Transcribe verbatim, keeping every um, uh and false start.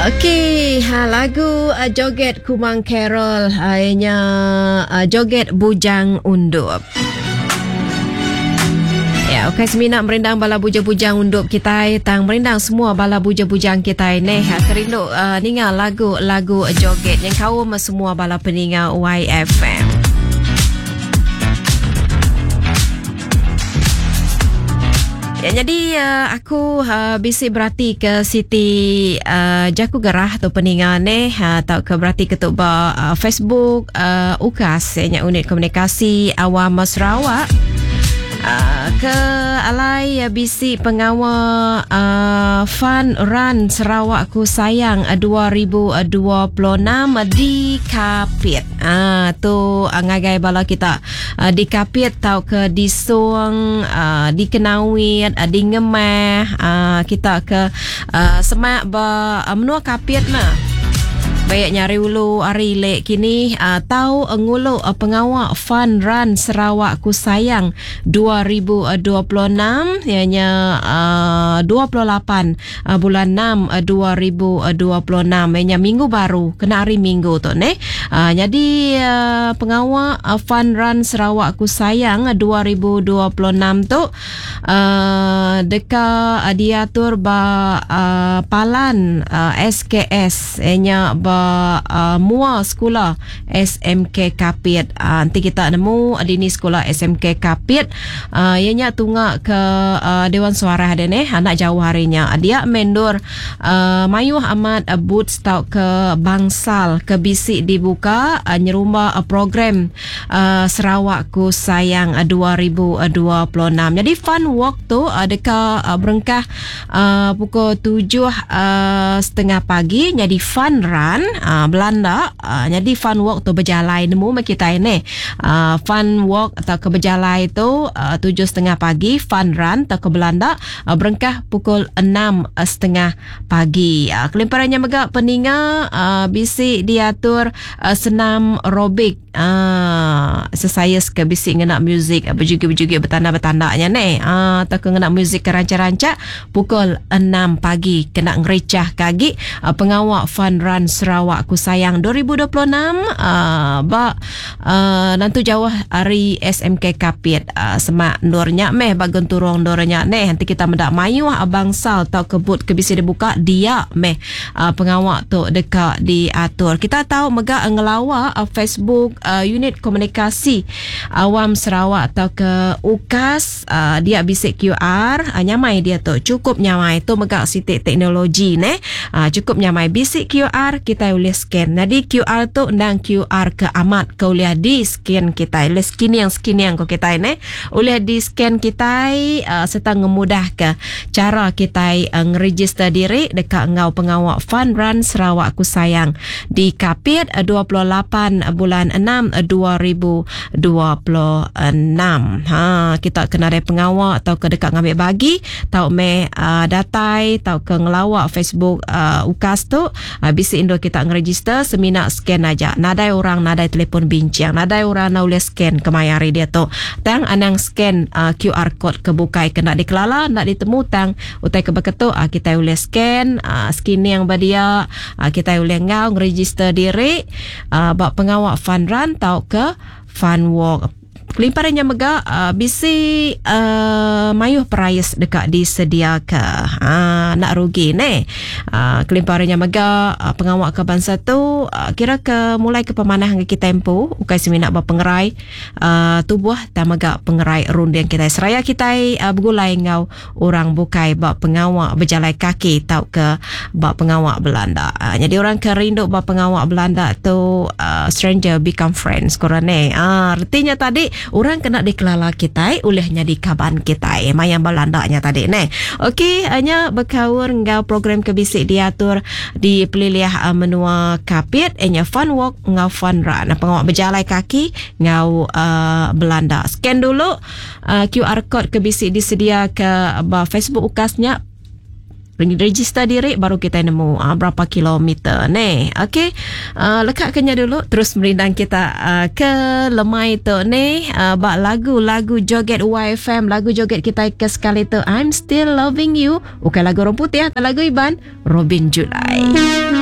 Okey, ha, lagu uh, Joget Kumang Carol ianya uh, Joget Bujang Undup. Ya, okey semina merindang bala bujang-bujang undup kita, tang merindang semua bala bujang-bujang kita neh. Ha, kerindu uh, ninga lagu-lagu joget yang kaum semua bala peninga Y F M. Ya, jadi uh, aku uh, bisi berarti ke Siti uh, Jaku Gerah tu peninga neh atau uh, ke berarti ke tu ba uh, Facebook uh, UKAS ya, Unit Komunikasi Awam Sarawak. Uh, ke alai uh, bisi pengawa uh, Fun Run Sarawak Ku Sayang uh, dua ribu dua puluh enam di Kapit. Ah uh, tu uh, ngagai bala kita uh, di Kapit tau ke di Song, uh, di Kenawit, uh, di Ngemah, uh, kita ke uh, semak ba uh, menua Kapit mah. Baik nyari ulu hari lek kini uh, tau ngulu uh, pengawa Fun Run Sarawak Ku Sayang dua ribu dua puluh enam ianya uh, dua puluh lapan uh, bulan enam uh, dua ribu dua puluh enam ianya minggu baru kena hari minggu tu ne. Uh, jadi uh, pengawa uh, Fun Run Sarawak Ku Sayang dua ribu dua puluh enam tu uh, deka uh, diatur ba uh, Palan uh, S K S ianya ba Uh, mua sekolah S M K Kapit. Uh, nanti kita nemu di ni sekolah S M K Kapit. Uh, ianya tunga ke uh, Dewan Suara ada ni anak jauh harinya. Dia mendur uh, mayuh amat uh, boots tau ke bangsal ke bisik dibuka uh, nyerumba uh, program uh, Sarawak Ku Sayang uh, dua ribu dua puluh enam. Jadi fun walk tu uh, deka uh, berengkah uh, pukul tujuh uh, setengah pagi jadi fun run Uh, Belanda uh, jadi fun walk tu berjalai nemu mak kita ini uh, fun walk atau ke berjalai tu uh, tujuh setengah pagi, fun run atau ke Belanda uh, berengkah pukul enam setengah pagi. Uh, kelimparannya mega peninga uh, bisi diatur uh, senam aerobik uh, sesayas ke bisi ngena muzik uh, berjugi-berjugi bertanda-bertandanya ni uh, atau ke ngena muzik ke rancak-rancak pukul enam pagi kena ngericah kagi uh, pengawak fun run Sarawak Ku Sayang dua ribu dua puluh enam uh, ba uh, nanti jauh hari S M K Kapit uh, semak nurnya meh bagun turung nurnya neh nanti kita mendak mayuh abang sal tau kebut ke bisi dibuka dia meh uh, pengawak tu dekat diatur. Kita tahu mega ngelawa uh, Facebook uh, Unit Komunikasi Awam Sarawak atau ke UKAS uh, dia bisik Q R uh, nyamai dia tu cukup nyamai tu mega sitik teknologi neh uh, cukup nyamai bisik Q R kita boleh scan. Jadi Q R tu ndang Q R ke amat ke boleh di scan kita. Boleh scan yang scan yang ko kita ne. Boleh di scan kita uh, serta ngemudah ke cara kita uh, ngeregister diri dekat ngau pengawak Fun Run Sarawak Ku Sayang di Kapit uh, dua puluh lapan bulan enam dua ribu dua puluh enam. Ha kita kena ada pengawak atau ke dekat ngambil bagi tau me uh, datai tau ke ngelawak Facebook uh, UKAS tu uh, bisi indo kita ngeregister semina scan aja. Nadai orang nadai telefon bincang, nadai orang nak boleh scan kemayari dia tu. Tang anang scan uh, Q R code ke bukai kena dikelala, nak ditemu tang utai ke beketu uh, kita boleh scan uh, skin yang badia uh, kita boleh ngau ngeregister diri uh, bak pengawak fun run tau ke fun walk. Kelimparannya mega uh, bisi uh, mayuh perais dekat disediakan. Ha, nak rugi ne. Uh, kelimparannya mega uh, pengawak ke bangsa tu uh, kira ke mulai ke pemanah ke kita tempo ukai seminak ba pengerai uh, tubuh ta mega pengerai runding kita seraya kita uh, bergulai ngau orang bukai ba pengawak berjalai kaki tau ke ba pengawak Belanda. Uh, jadi orang ke rindu ba pengawak Belanda tu uh, stranger become friends korang ne. Uh, artinya tadi orang kena dikelala kita olehnya di kaban kita mayang Belandanya tadi ne. Okey, hanya berkaur ngau program kebisik diatur di peliliah uh, menua Kapit nya fun walk ngau fun run. Pengawak berjalai kaki ngau uh, Belanda. Scan dulu uh, Q R code kebisik disedia ke ba Facebook UKASnya. Register diri baru kita nemu uh, berapa kilometer ni. Okey. Uh, lekak kenya dulu terus merindang kita uh, ke lemai tu ni uh, bak lagu-lagu joget Y F M, lagu joget kita ke sekali tu, I'm Still Loving You. Bukan lagu orang putih, lagu Iban Robin Julai.